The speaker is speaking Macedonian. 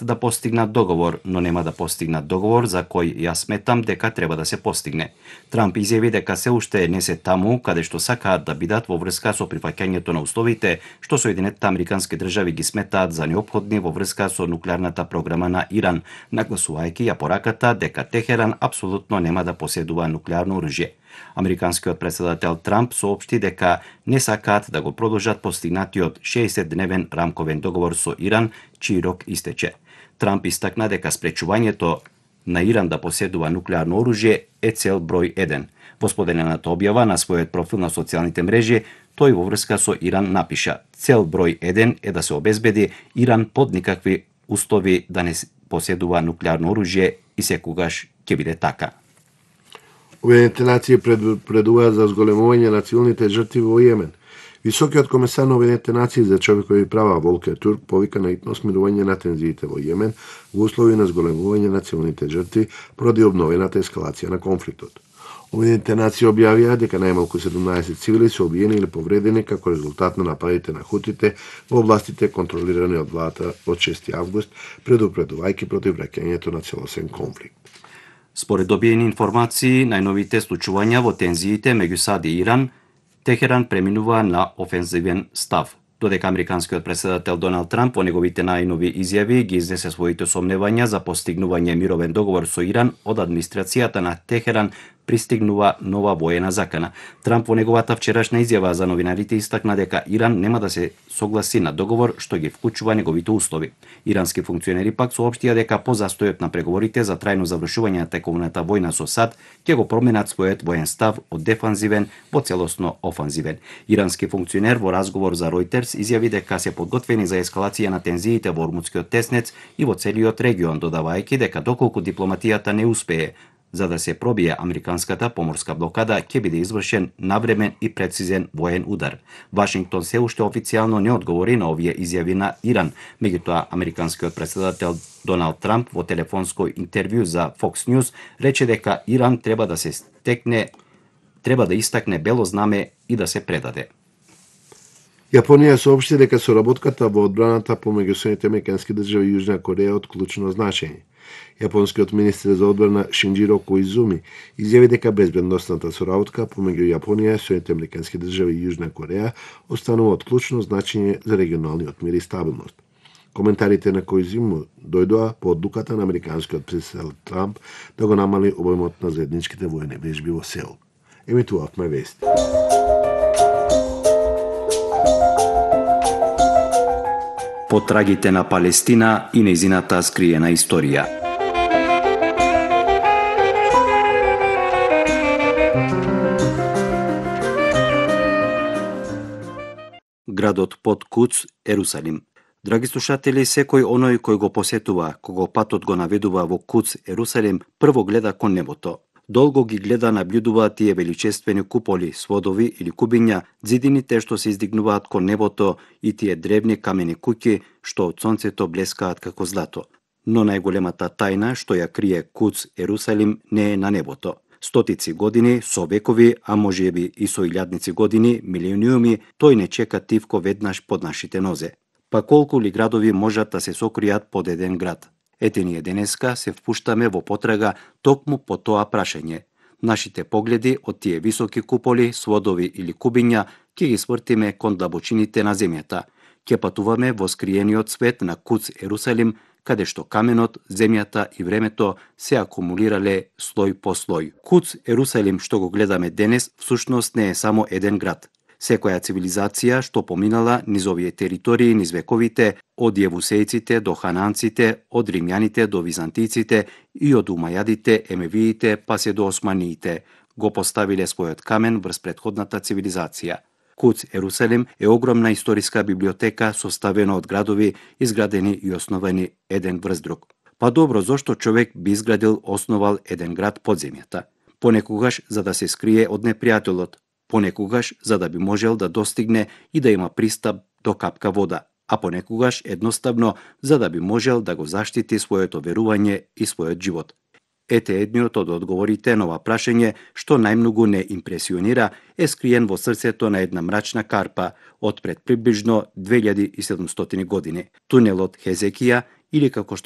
да постигнат договор, но нема да постигнат договор за кој јас сметам дека треба да се постигне. Трамп изјави дека се уште не се таму каде што сакаат да бидат во врска со прифаќањето на условите што Соединетите Американски држави ги сметаат за неопходни во врска со нуклеарната програма на Иран, нагласувајќи ја пораката дека Техеран апсолутно нема да поседува нуклеарно оружје. Американскиот претседател Трамп соопшти дека не сакаат да го продолжат постигнатиот 60-дневен рамковен договор со Иран, чиј рок истече. Трамп истакна дека спречувањето на Иран да поседува нуклеарно оружје е цел број 1. Во споделената објава на својот профил на социјалните мрежи, тој во врска со Иран напиша: "Цел број 1 е да се обезбеди Иран под никакви услови да не поседува нуклеарно оружје и секогаш ќе биде така." Обединетите нации предупредуваат за зголемување на цивилните жртви во Јемен. Високиот комесар на Обединетите нации за човекови права Волкер Турк повика на итно смирување на тензиите во Јемен во услови на зголемување на цивилните жртви поради обновената ескалација на конфликтот. Обединетите нации објавија дека најмалку 17 цивили се убиени или повредени како резултат на нападите на хутите во областите контролирани од владата од 6 август, предупредувајќи против враќањето на целосен конфликт. Според добиени информации, најновите случувања во тензиите меѓу САД и Иран, Техеран преминува на офензивен став. Додека американскиот претседател Доналд Трамп во неговите најнови изјави ги изнесе своите сомневања за постигнување мировен договор со Иран, од администрацијата на Техеран пристигнува нова воена закана. Трамп во неговата вчерашна изјава за новинарите истакна дека Иран нема да се согласи на договор што ги вклучува неговите услови. Ирански функционери пак соопштија дека по застојот на преговорите за трајно завршување на тековната војна со САД ќе го променат својот воен став од дефанзивен во целосно офанзивен. Ирански функционер во разговор за Reuters изјави дека се подготвени за ескалација на тензиите во Ормутскиот теснец и во целиот регион, додавајќи дека доколку дипломатијата не успее за да се пробие американската поморска блокада, ќе биде извршен навремен и прецизен воен удар. Вашингтон се уште официјално не одговори на овие изјави на Иран. Меѓутоа, американскиот претседател Доналд Трамп во телефонско интервју за Fox News рече дека Иран треба да истакне бело знаме и да се предаде. Јапонија соопшти дека соработката во одбраната помеѓу Соединетите Американски држави и Јужна Кореја е од клучно значење. Јапонскиот министер за одбрана Шинџиро Коизуми изјави дека безбедносната соработка помеѓу Јапонија, Соединетите Американски држави и Јужна Кореја останува од клучно значење за регионалниот мир и стабилност. Коментарите на Коизуми дојдоа по одлуката на американскиот претседател Трамп да го намали обемот на заедничките воени вежби во Сеул. Емитувавме вести. Потрагите на Палестина и нејзината скриена историја. Градот под Куц, Ерусалим. Драги слушатели, секој оној кој го посетува, кого патот го наведува во Куц, Ерусалим, прво гледа кон небото. Долго ги гледа, наблюдува тие величествени куполи, сводови или кубиња, ѕидините што се издигнуваат кон небото и тие древни камени куќи што од сонцето блескаат како злато. Но најголемата тајна што ја крие Куц, Ерусалим, не е на небото. Стотици години, со векови, а можеби и со илјадници години, милиониуми, тој не чека тивко веднаш под нашите нозе. Па колку ли градови можат да се сокријат под еден град? Ете ние денеска се впуштаме во потрага токму по тоа прашање. Нашите погледи од тие високи куполи, сводови или кубиња ќе ги свртиме кон длабочините на земјата. Ќе патуваме во скриениот свет на Куц, Ерусалим, каде што каменот, земјата и времето се акумулирале слој по слој. Куц, Ерусалим што го гледаме денес, всушност не е само еден град. Секоја цивилизација што поминала низ овие територии низ вековите, од јевусејците до хананците, од римјаните до византиците и од умајадите, емевиите, па се до османиите, го поставиле својот камен врз претходната цивилизација. Куц, Ерусалим е огромна историска библиотека составена од градови изградени и основани еден врз друг. Па добро, зошто човек би изградил, основал еден град под земјата? Понекогаш за да се скрие од непријателот, понекогаш за да би можел да достигне и да има пристап до капка вода, а понекогаш едноставно за да би можел да го заштити своето верување и својот живот. Ете едниот од одговорите на ова прашање што најмногу не импресионира е скриен во срцето на една мрачна карпа од пред приближно 2700 години, тунелот Хезекија или како што